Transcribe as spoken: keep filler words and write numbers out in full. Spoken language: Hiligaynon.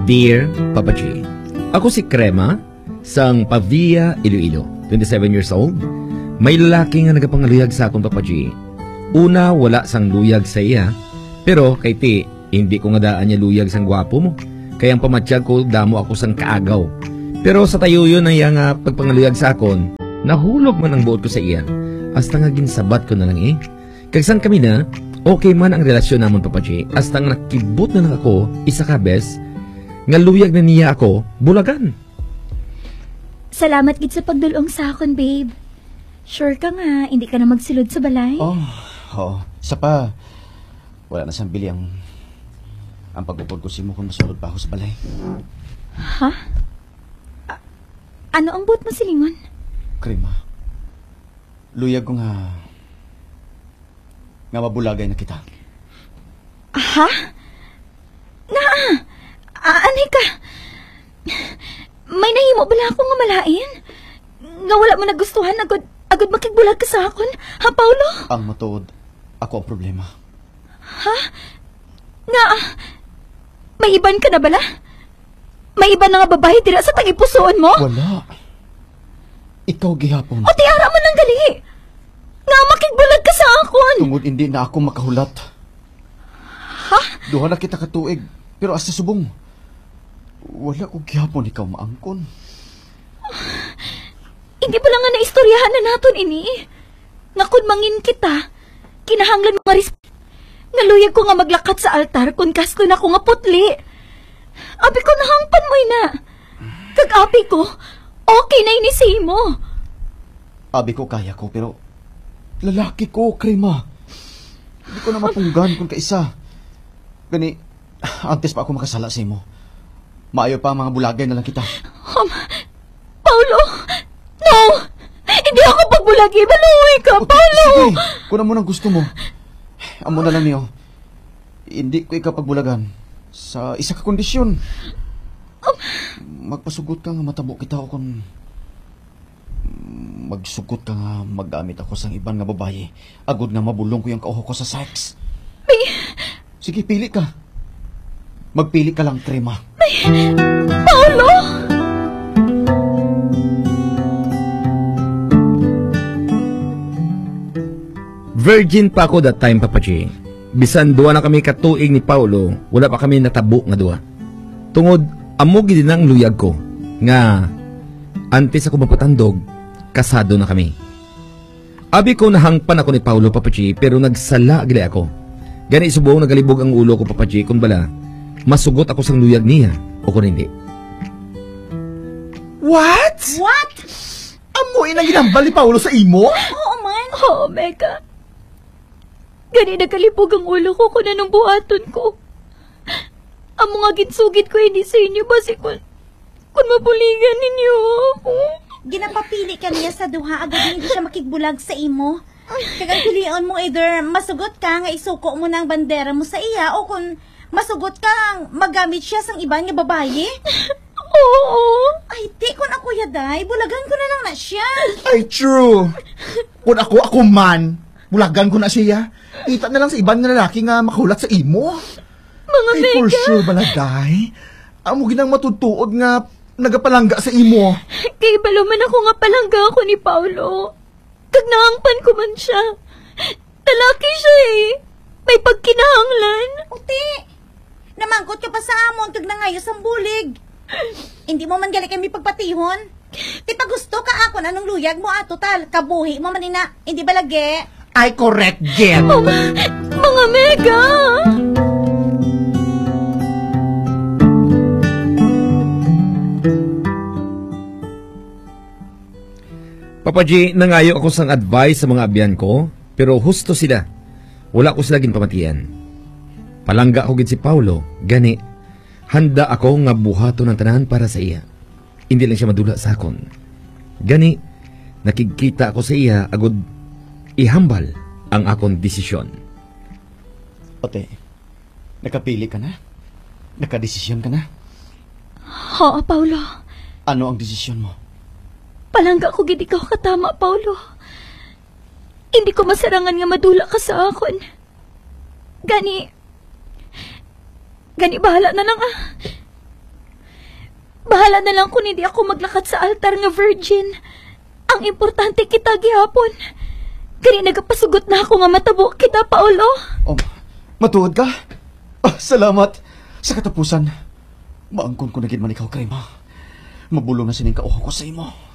Dear Papa G, ako si Crema sang Pavia, Iloilo, twenty-seven years old. May lalaki nga nagapangaluyag sa akon, Papa G. Una, wala sang luyag sa iya, pero kay ti, hindi ko nga daan niya luyag sang gwapo mo. Kay ang pamatyag ko, damo ako sang kaagaw. Pero sa tayuyon na iya nga pagpangaluyag sa akon, nahulog man ang buot ko sa iya. Hasta nga ginsabat ko na lang, eh. Kag sang kami na, okay man ang relasyon namon, Papa G, hasta nga nakibot na lang ako, isa ka bes, nga luyag na niya ako bulagan. Salamat gid sa pagdul-ong sa akon, babe. Sure ka nga hindi ka na magsulod sa balay? Oh, oo. Sa pa, wala na sang bili ang, ang pag-upod ko sa imo kung masulod pa ako sa balay. Ha? A-, ano ang buot mo silingon? Krima, luyag ko nga, nga mabulagay na kita. Ha? Nga? A-, anay ka? May nahimo bala ako nga malain? Nga wala mo nagustuhan agud, agud makigbulag ka sa akon, ha, Paulo? Ang matuod, ako ang problema. Ha? Nga, may iban ka na bala? May iban na nga babayi dira sa tagipusoon mo? Wala. Ikaw gihapon. O ti ara man lang gali. Nga makigbulag ka sa akon. Tungod hindi na ako makahulat. Ha? Duha na kita ka tuig, pero hasta subong, wala ko gihapon ikaw maangkon. Hindi bala nga naistoryahan na naton ini? Nga kon mangin kita, kinahanglan mo nga res-, nga luyag ko nga maglakat sa altar kon kasto na ko nga putli. Abi ko, nahangpan mo ina. Kag abi ko, okay na ini sa imo. Abi ko, kaya ko, pero lalaki ko, Krima. Hindi ko na mapunggan kung kaisa. Gani, antes pa ako makasala sa imo, maayo pa ang mga bulagay na lang kita. Um, Paulo! No! Hindi ako pagbulagi! Maluoy ka, Paulo! Sige, kung amo nang gusto mo, amo na lang niyo. Hindi ko ikaw pagbulagan sa isa ka kondisyon. Um, Magpasugot ka nga matabo kita o kung magsugot ka nga maggamit ako sang iban nga babayi, agod nga mabulong ko yung kauho ko sa sex. May Sige, pili ka. Magpili ka lang, Krema. May Paulo! Virgin pa ako that time, Papa G. Bisan duha na kami ka tuig ni Paulo, wala pa kami natabo nga duha. Tungod amo gid na ang luyag ko nga antes ako mapatandog, kasado na kami. Abi ko, nahangpan ako ni Paulo, Papa G, pero nagsala gali ako. Gani subong nagalibog ang ulo ko, Papa G, kun bala masugot ako sang luyag niya o kun hindi. What? What? Amo ina ginhambal ni Paulo sa imo? Oo man. Oo, Mega. Gani nagalibog ang ulo ko kung anong buhaton ko. Amo nga ginsugid ko ini sa inyo, basi kun, kun mabuligan ninyo ako. Ginapapili ka niya sa duha, agod nga hindi siya makigbulag sa imo. Kag ang pilion mo, either masugot ka nga isuko mo na ang bandera mo sa iya, o kung masugot ka nga magamit siya sang iban nga babayi. Oo. Ay, di, kun ako ya, day, bulagan ko na lang na siya. Ay, true. Kun ako, ako man, bulagan ko na siya. Kita na lang sa iban nga lalaki nga makahulat sa imo. Mga Ay, for Mega. Sure bala, day. Amo ginang matutuod nga nagapalangga sa imo. Kay balo man ako nga palangga ako ni Paulo. Kag naangpan ko man siya. Lalaki siya eh. May pagkinahanglan. Uti, namangkot ka pa sa amon kag nangayo sang bulig. Hindi mo man gali kami pagpatihon. Ti pagusto ka akon anong luyag mo, ah, total kabuhi mo man ina. Hindi ba lagi? Ay, correct, Jen. Mga, mga Mega! Papa G, nangayo ako sang advice sa mga abyan ko, pero husto sila. Wala ko sila ginpamatian. Palangga ko gid si Paulo, gani handa ako nga buhaton ang tanan para sa iya. Hindi lang siya madula sa akon. Gani, nakigkita ako sa iya agud ihambal ang akon desisyon. Ote, nakapili ka na? Nakadesisyon ka na? Oo, Paulo. Ano ang desisyon mo? Palangga ko gid ikaw katama, Paulo. Hindi ko masarangan nga madula ka sa akon. Gani, gani bahala na lang, ah. Bahala na lang kung hindi ako maglakat sa altar nga virgin. Ang importante kita gihapon. Kani nagapasugot na ako nga matabo kita, Paolo. Oh, matuod ka? Ah, salamat. Sa katapusan, maangkon ko na gid man ikaw, Karima. Mabulong na sining kauha ko sa imo.